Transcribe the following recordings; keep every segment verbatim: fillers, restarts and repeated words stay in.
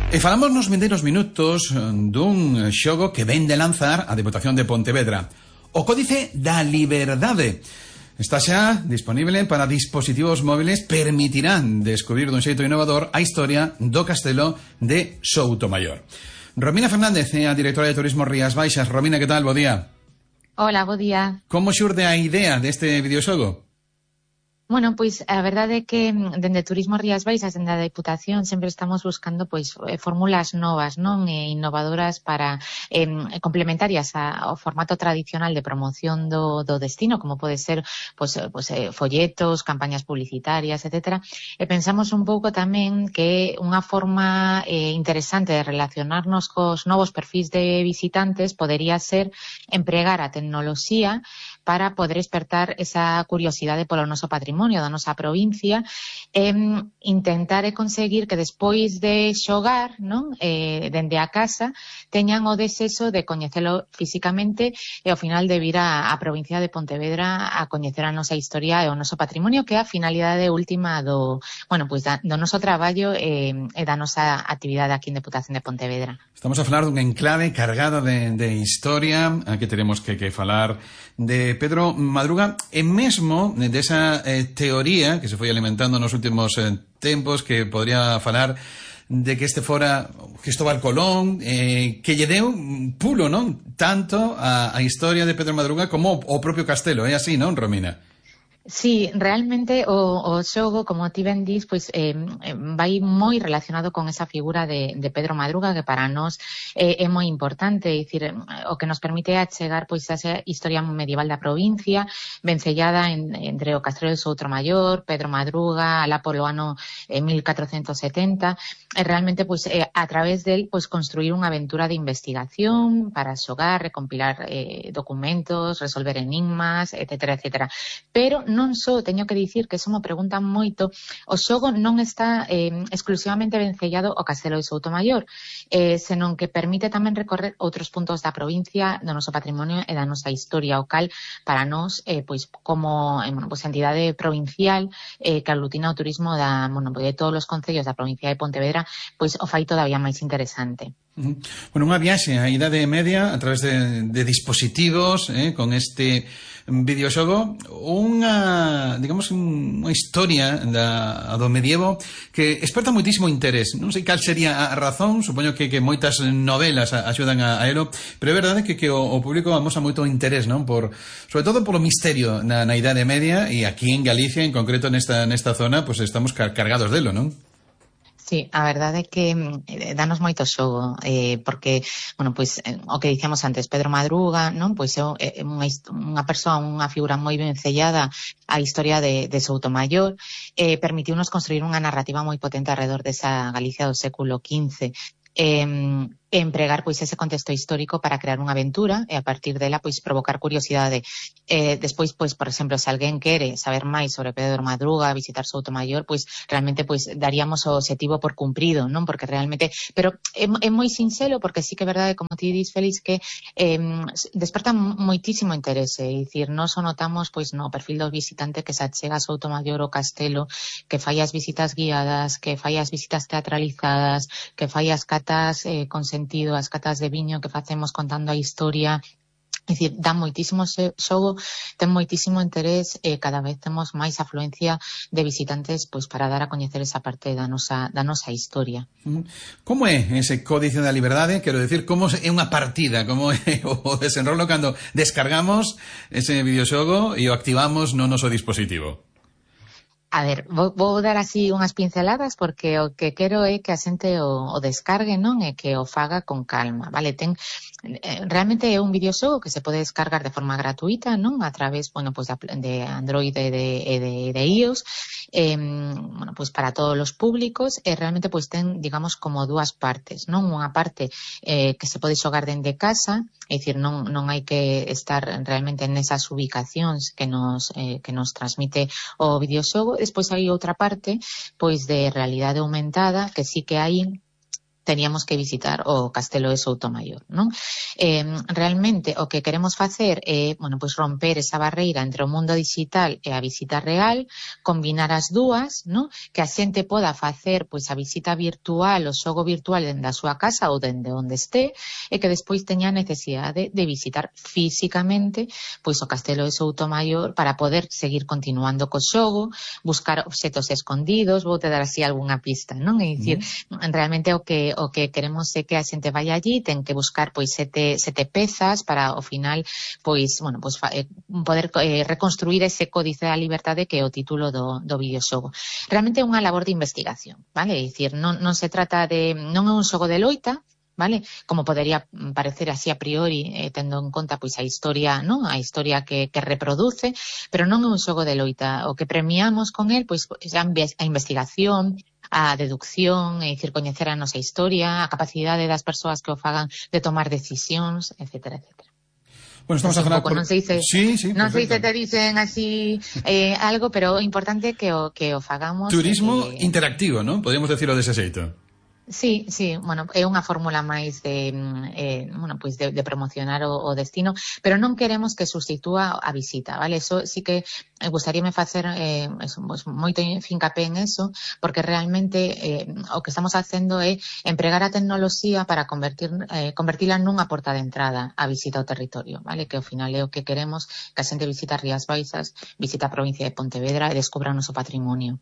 E falamos nos vindeiros minutos dun xogo que ven de lanzar a Deputación de Pontevedra, o Códice da Liberdade. Está xa disponible para dispositivos móviles, permitirán descubrir dun xeito innovador a historia do castelo de Soutomaior. Romina Fernández é a directora de Turismo Rías Baixas. Romina, que tal? Bo día. Hola, bo día. Como xurde a idea deste videoxogo? Bueno, pois a verdade é que dende Turismo Rías Baixas, dende a Deputación, sempre estamos buscando pois fórmulas novas, non, e innovadoras para eh, complementarias ao formato tradicional de promoción do, do destino, como pode ser pois, pois, folletos, campañas publicitarias, etcétera. E pensamos un pouco tamén que unha forma eh, interesante de relacionarnos cos novos perfis de visitantes podería ser empregar a tecnoloxía para poder despertar esa curiosidade polo noso patrimonio da nosa provincia, e intentar e conseguir que despois de xogar, non, eh, dende a casa, teñan o desexo de coñecelo físicamente e ao final de vir a, a provincia de Pontevedra a coñecer a nosa historia e o noso patrimonio, que é a finalidade última do, bueno, pois da, do noso traballo e, e da nosa actividade aquí en Deputación de Pontevedra. Estamos a falar dun enclave cargado de, de historia. Aquí teremos que, que falar de Pedro Madruga e mesmo desa eh, teoría que se foi alimentando nos últimos eh, tempos, que podría falar de que este fora Cristóbal Colón, eh, que lle deu pulo, non? Tanto a, a historia de Pedro Madruga como o propio castelo, é así, non, Romina? Sí, realmente o, o xogo, como ti ben dis, pois eh, vai moi relacionado con esa figura de, de Pedro Madruga, que para nós eh, é moi importante, é dicir, o que nos permite achegar pois esa historia medieval da provincia, vencellada en, entre o Castelo de Soutomaior, Pedro Madruga, alá polo ano eh, mil catrocentos setenta, e realmente pois eh, a través del pois construir unha aventura de investigación para xogar, recompilar eh, documentos, resolver enigmas, etcétera, etcétera. Pero non só, teño que dicir que eso me preguntan moito, o xogo non está eh, exclusivamente vencellado ao Castelo de Soutomaior, eh, senón que permite tamén recorrer outros puntos da provincia, do noso patrimonio e da nosa historia, o cal para nós, eh, pois como eh, bueno, pois, entidade provincial eh, que aglutina o turismo da, bueno, de todos os concellos da provincia de Pontevedra, pois o fai todavía máis interesante. Bueno, unha viaxe a idade media a través de, de dispositivos, eh, con este videoxogo, unha, digamos, unha historia da, do medievo que esperta moitísimo interés. Non sei cal sería a razón, supoño que, que moitas novelas axudan a, a elo, pero é verdade que, que o, o público amosa moito interés, non? Por, sobre todo polo misterio na, na idade media, e aquí en Galicia, en concreto nesta, nesta zona, pues estamos car cargados delo, non? Sí, a verdade é que eh, danos moito xogo, eh, porque, bueno, pois, eh, o que dicíamos antes, Pedro Madruga, non? Pois é eh, unha, unha persoa, unha figura moi vencellada á historia de, de Soutomaior, eh, permitiunos construir unha narrativa moi potente alrededor desa Galicia do século quince, eh, empregar pois ese contexto histórico para crear unha aventura e a partir dela pois provocar curiosidade. Eh, despois, pois, por exemplo, se alguén quere saber máis sobre Pedro Madruga, visitar Soutomaior, pois realmente pois daríamos o objetivo por cumprido, non? Porque realmente, pero é, é moi sinxelo porque sí que é verdade, como ti dis, Félix, que eh, desperta moitísimo interese, é dicir, nós o notamos pois no perfil do visitante que se achega a Soutomaior o castelo, que fai as visitas guiadas, que fai as visitas teatralizadas, que fai as catas eh, con sentido, as catas de viño que facemos contando a historia. É dicir, dá moitísimo xogo, ten moitísimo interés e cada vez temos máis afluencia de visitantes pois para dar a coñecer esa parte da nosa, da nosa historia. Como é ese Códice da Liberdade? Quero decir, como é unha partida, como é o desenrolo cando descargamos ese videoxogo e o activamos no noso dispositivo? A ver, vou, vou dar así unhas pinceladas porque o que quero é que a xente o, o descargue, non? E que o faga con calma, vale? Ten, eh, realmente é un videoxogo que se pode descargar de forma gratuita, non? A través, bueno, pues de Android e de, de, de iOS, eh, bueno, pues para todos os públicos, e realmente pues ten, digamos, como dúas partes, non? Unha parte eh, que se pode xogar dende casa, é dicir, non, non hai que estar realmente nesas ubicacións que nos, eh, que nos transmite o videoxogo. Despois hai outra parte, pois de realidade aumentada, que sí que hai teníamos que visitar o Castelo de Soutomaior, non? Eh, realmente o que queremos facer é, bueno, pois romper esa barreira entre o mundo digital e a visita real, combinar as dúas, non? Que a xente poda facer pois a visita virtual, o xogo virtual dende a súa casa ou dende onde este, e que despois teña necesidade de visitar físicamente pois o Castelo de Soutomaior para poder seguir continuando co xogo, buscar obxetos escondidos, vou te dar así algunha pista, non? É dicir, mm. realmente o que o que queremos é que a xente vai allí, ten que buscar pois sete, sete pezas para ao final pois, bueno, pois eh, poder eh, reconstruir ese códice da liberdade que é o título do, do videoxogo. Realmente é unha labor de investigación, vale? É dicir, non, non se trata de, non é un xogo de loita, vale? Como podería parecer así a priori, eh, tendo en conta pois a historia, non? A historia que, que reproduce, pero non é un xogo de loita. O que premiamos con el, pois, a, a investigación, a deducción, é dicir, coñecer a nosa historia, a capacidade das persoas que o fagan de tomar decisións, etcétera, etcétera. Bueno, estamos a falar por... non se dice, sí, sí, non se dice, te dicen así eh, algo, pero o importante é que o, que o fagamos. Turismo eh, interactivo, ¿no? Podríamos decirlo dese xeito. Sí, sí, bueno, é unha fórmula máis de, eh, bueno, pois de, de promocionar o, o destino, pero non queremos que sustitúa a visita, vale? Eso sí que eh, gustaríame facer eh, eso, pues, moito fincapé en eso, porque realmente eh, o que estamos facendo é empregar a tecnoloxía para convertir, eh, convertila nunha porta de entrada a visita ao territorio, vale? Que ao final é o que queremos, que a xente visita Rías Baixas, visita a provincia de Pontevedra e descubra o noso patrimonio.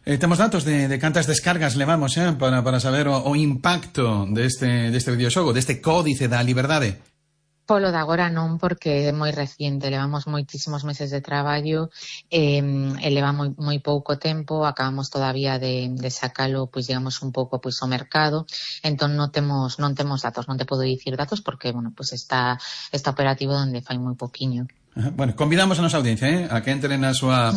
Eh, temos datos de, de cantas descargas levamos eh, para, para saber o, o impacto deste, deste videoxogo, deste códice da liberdade. Polo de agora non, porque é moi reciente, levamos moitísimos meses de traballo, eh, e leva moi, moi pouco tempo, acabamos todavía de, de sacalo, pois digamos un pouco pois ao mercado, entón non temos non temos datos, non te podo dicir datos porque, bueno, pois está está operativo donde fai moi poquiño. Bueno, convidamos a nosa audiencia eh, a que entren na súa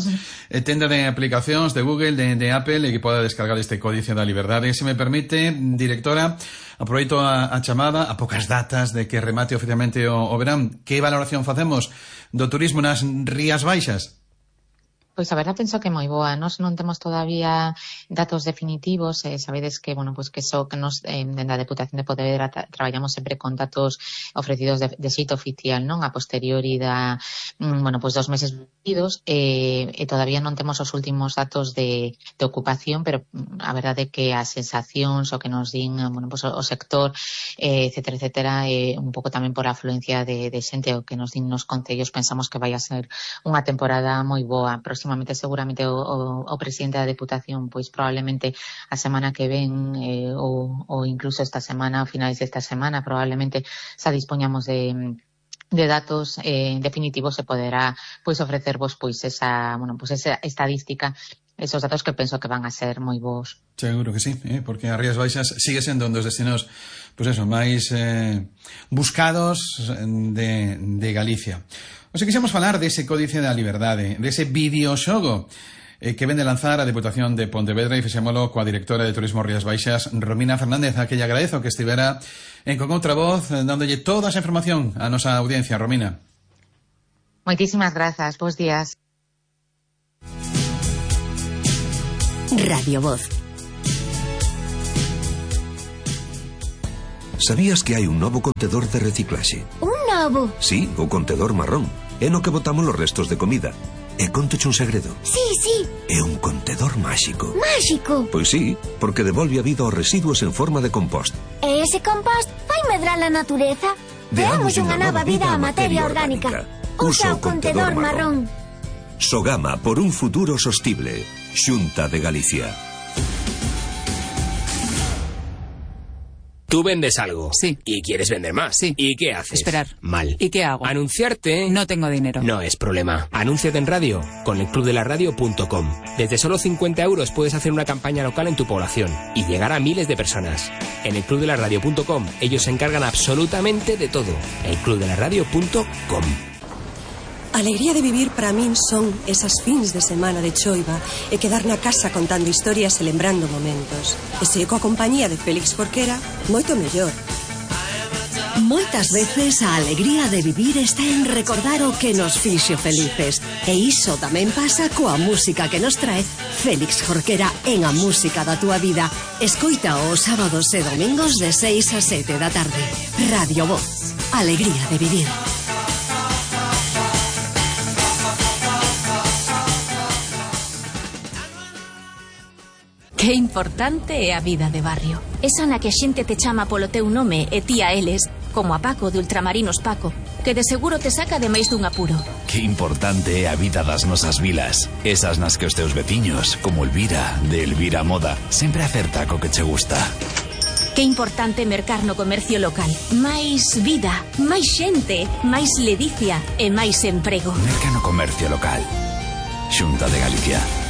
eh, tenda de aplicacións de Google, de, de Apple, e que poda descargar este códice da liberdade. Se me permite, directora, aproveito a, a chamada a poucas datas de que remate oficialmente o, o verán. Que valoración facemos do turismo nas Rías Baixas? Pois a verdade penso que moi boa. Nos non temos todavía datos definitivos, eh, sabedes que, bueno, pois que so que nos eh, dende a Deputación de Pontevedra tra traballamos sempre con datos ofrecidos de, de xeito oficial, non? A posteriori da, mm, bueno, pois dos meses vividos, eh, e todavía non temos os últimos datos de, de ocupación, pero a verdade é que as sensacións o que nos din, bueno, pois o, o sector, eh, etcétera, etcétera, eh, un pouco tamén por a afluencia de, de xente o que nos din nos concellos, pensamos que vai a ser unha temporada moi boa. Próximamente seguramente o, o, o presidente da Deputación pois probablemente a semana que ven eh, ou, ou incluso esta semana, a finais desta semana probablemente xa dispoñamos de de datos eh, definitivos se poderá pois ofrecervos pois esa, bueno, pois esa estadística, esos datos que penso que van a ser moi bons. Seguro que sí, eh, porque a Rías Baixas sigue sendo un dos destinos pois eso, máis eh, buscados de, de Galicia. O sea, quixemos falar dese códice da liberdade, dese videoxogo eh, que vende lanzar a Deputación de Pontevedra, e fixémolo coa directora de Turismo Rías Baixas, Romina Fernández, a que lle agradezo que estivera en con outra voz, dándolle toda esa información a nosa audiencia. Romina. Moitísimas grazas, bons días. Radio Voz. Sabías que hai un novo contedor de reciclaxe? Un novo? Sí, o contedor marrón. É no que botamos os restos de comida. E contoche un segredo. Sí, sí. É un contedor máxico. Máxico? Pois sí, porque devolve a vida aos residuos en forma de compost. E ese compost vai medrar a natureza? Deamos unha nova vida á materia orgánica. Usa o contedor marrón. Sogama por un futuro sostible. Xunta de Galicia. Tú vendes algo. Sí. Y quieres vender más. Sí. ¿Y qué haces? Esperar. Mal. ¿Y qué hago? Anunciarte. No tengo dinero. No es problema. Anúnciate en radio con el club de la radio punto com. Desde solo cincuenta euros puedes hacer una campaña local en tu población y llegar a miles de personas. En el club de la radio punto com ellos se encargan absolutamente de todo. el club de la radio punto com. A alegría de vivir para min son esas fins de semana de choiva e quedar na casa contando historias e lembrando momentos. E se coa compañía de Félix Forquera, moito mellor. Moitas veces a alegría de vivir está en recordar o que nos fixo felices. E iso tamén pasa coa música que nos trae Félix Jorquera en A Música da Túa Vida. Escoita os sábados e domingos de seis a sete da tarde. Radio Voz. Alegría de vivir. Que importante é a vida de barrio. Esa na que a xente te chama polo teu nome e ti a eles, como a Paco de Ultramarinos Paco, que de seguro te saca de máis dun apuro. Que importante é a vida das nosas vilas. Esas nas que os teus veciños, como Elvira, de Elvira Moda, sempre acerta co que che gusta. Que importante mercar no comercio local. Máis vida, máis xente, máis ledicia e máis emprego. Merca no comercio local. Xunta de Galicia.